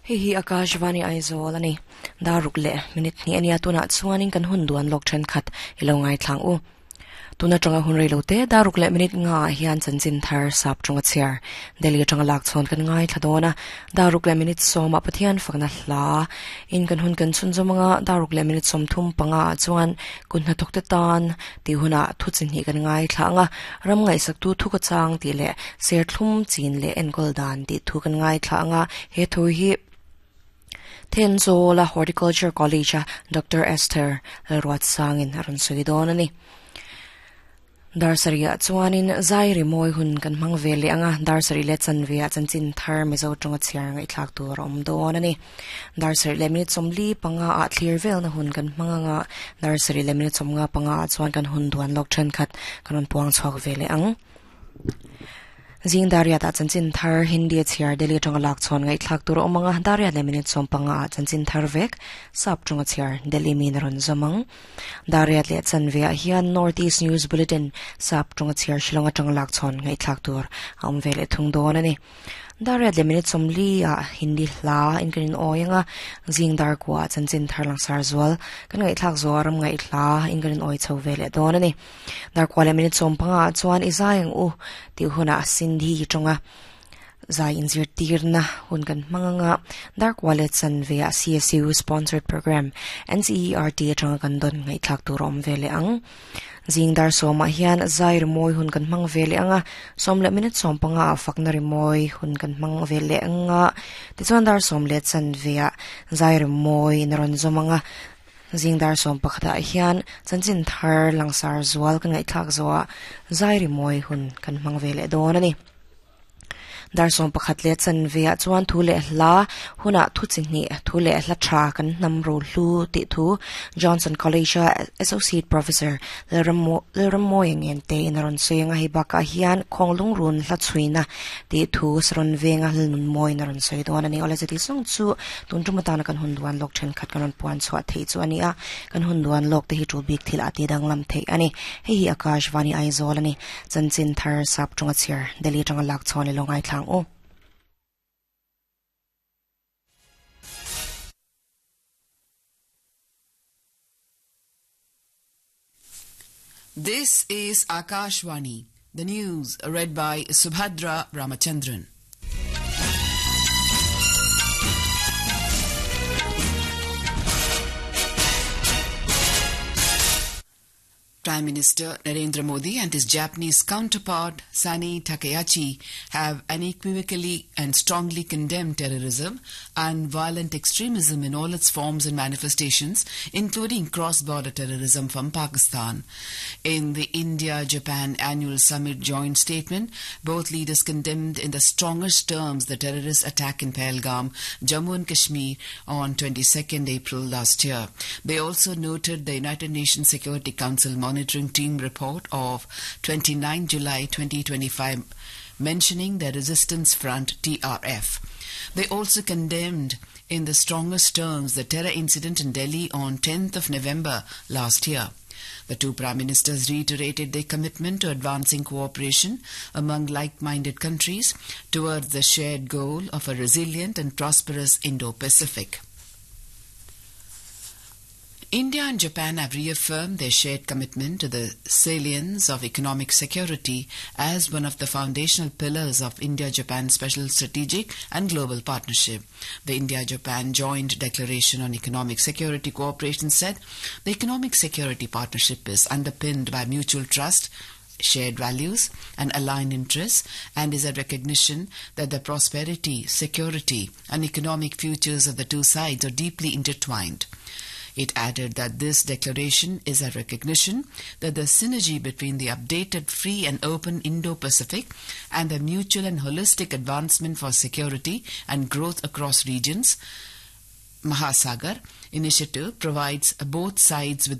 Hei hi Akashvani Aizawl a ni. Dar ruk leh minute hnih a nia tunah chuanin kan hun duan lawk thenkhat i lo ngaithlang u. Tun atanga hun rei lo te dar ruk leh minute nga ah hian chanchin thar sap tawnga chhiar Delhi atanga lak chhawn kan ngaithla dawn a. Dar ruk leh minute sawmah Pathian fakna hla in kan hun kan chhunzawm anga dar ruk leh minute 35 ah chuan kut hnathawk te tan tih hunah thu chi hnih kan ngaithla anga ram ngaihsaktu thu ka chang tih leh serthlum chin leh enkawl dan tih thu kan ngaithla anga he thu hi Thenzawla Horticulture College a Doctor Esther Lalruatsangin a rawn sawi dawn a ni. Dar sarih ah chuanin zai rimawi hun kan hmang ve leh ang a, dar sarih leh chanve ah chanchin thar Mizo tawnga chhiar ngaihthlak tur a awm dawn a ni. Dar sarih leh minute 45 ah thlir velna hun kan hmang ang a, dar sarih leh minute 55 ah chuan kan hun duan lawk thenkhat kan rawn puang chhuak ve leh ang. Zing Dariat ah chanchin thar Hindi a chhiar Delhi atanga lak chhawn ngaihthlak tur a awm ang a, Dariat leh minute 15 ah chanchin thar vek sap tawnga chhiar Delhi min a rawn zawm ang. Dariat leh chanve ah hian North East News Bulletin sap tawnga chhiar Shillong atanga lak chhawn ngaihthlak tur a awm ve leh thung dawn a ni. Dariat leh minute 40 ah Hindi hla in kan in awi ang a, zing dar kua ah chanchin thar langsar zual kan ngaihthlak zawh a ram ngaihhla in kan in awi chho ve leh dawn a ni. Darkua leh minute 15 ah chuan i zai ang u tih hunah Sindhi tawnga zai inzirtirna hun kan hmang ang a, Darkua leh chanve ah CSU sponsored program NCERT atanga kan dawn ngaihthlak tur a awm ve leh ang. Zing dar sawmah hian zai rimawi hun kan hmang ve leh ang a, sawm leh minute 15 ah fakna rimawi hun kan hmang ve leh ang a, tichuan dar sawm leh chanve ah zai rimawi in a rawn zawm ang a, Zing dar 11 ah hian chanchin thar langsar zual kan ngaihthlak zawhah zai rimawi hun kan hmang ve leh dawn a ni. Dar 11 leh chanve ah chuan thu leh hla hunah thu chi hnih thu leh hla tha kan hnam ro hlu tih thu Johnson College a Associate Professor Lalrammawi ngen te in a rawn sawi ang a, hei bakah hian Khawnglung run hla chhuina tih thu Saron venga Lalnun mawiin a rawn sawi dawn a ni. Awle chuti zawng chu tun tum atana kan hun duan lawk thenkhat kan rawn puan chhuah theih chu a ni a, kan hun duan lawk te hi tul bik thil ah ti danglam theih a ni. Hei hi Akashvani Aizawl a ni. Chanchin thar sap tawnga chhiar Delhi atanga lak chhuah ni lo ngaithlang u. This is Akashvani, the news read by Subhadra Ramachandran. Prime Minister Narendra Modi and his Japanese counterpart Sani Takaichi have unequivocally and strongly condemned terrorism and violent extremism in all its forms and manifestations, including cross-border terrorism from Pakistan. In the India-Japan annual summit joint statement, both leaders condemned in the strongest terms the terrorist attack in Pahalgam, Jammu and Kashmir on 22nd April last year. They also noted the United Nations Security Council Monitoring Team report of 29 July 2025 mentioning the Resistance Front TRF. They also condemned in the strongest terms the terror incident in Delhi on 10th of November last year. The two prime ministers reiterated their commitment to advancing cooperation among like-minded countries towards the shared goal of a resilient and prosperous Indo-Pacific. India and Japan have reaffirmed their shared commitment to the salience of economic security as one of the foundational pillars of India-Japan Special Strategic and Global Partnership. The India-Japan Joint Declaration on Economic Security Cooperation said the economic security partnership is underpinned by mutual trust, shared values and aligned interests and is a recognition that the prosperity, security and economic futures of the two sides are deeply intertwined. It added that this declaration is a recognition that the synergy between the updated free and open Indo-Pacific and the mutual and holistic advancement for security and growth across regions Mahasagar initiative provides both sides with the